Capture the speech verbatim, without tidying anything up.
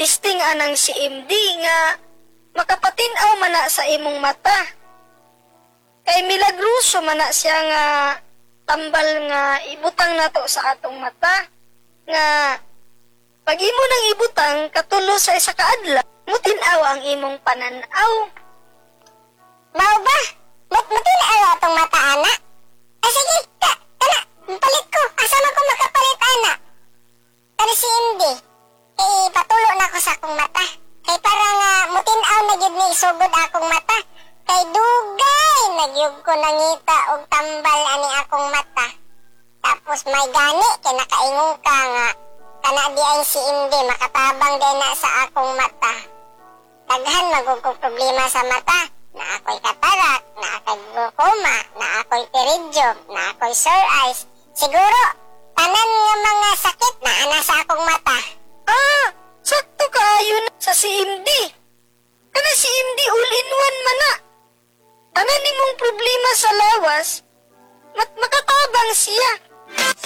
ipa-testing anang C M D nga makapatin-aw man na sa imong mata. Kay milagroso man na siya nga tambal nga ibutang nato sa atong mata nga pag imo nang ibutang katulo sa isa ka adlaw, mutin-aw ang imong pananaw. Mao ba? Mut mutin-aw atong mata ana? Ay sige, ka, kana, palit ko. Asa man ko makapalit ana? Pero C M D, kay patulo na ko sa akong mata. Kay para nga mutin-aw na gyud ni isugod akong mata. Kay dugay na gyud ko nangita og tambal ani akong mata. Tapos may gani kay nakaingon ka nga kana di ay C M D makatabang din na sa akong mata. Daghan man gud kong problema sa mata. Na ako'y katarak, na ako'y glaucoma, na ako'y pterygium, na ako'y sore eyes. Siguro, tanan nga mga sakit na ana sa akong mata. Ah, sakto kaayo na sa C M D. Kana C M D all in one man na. Tanan nimong problema sa lawas, mat makatabang siya.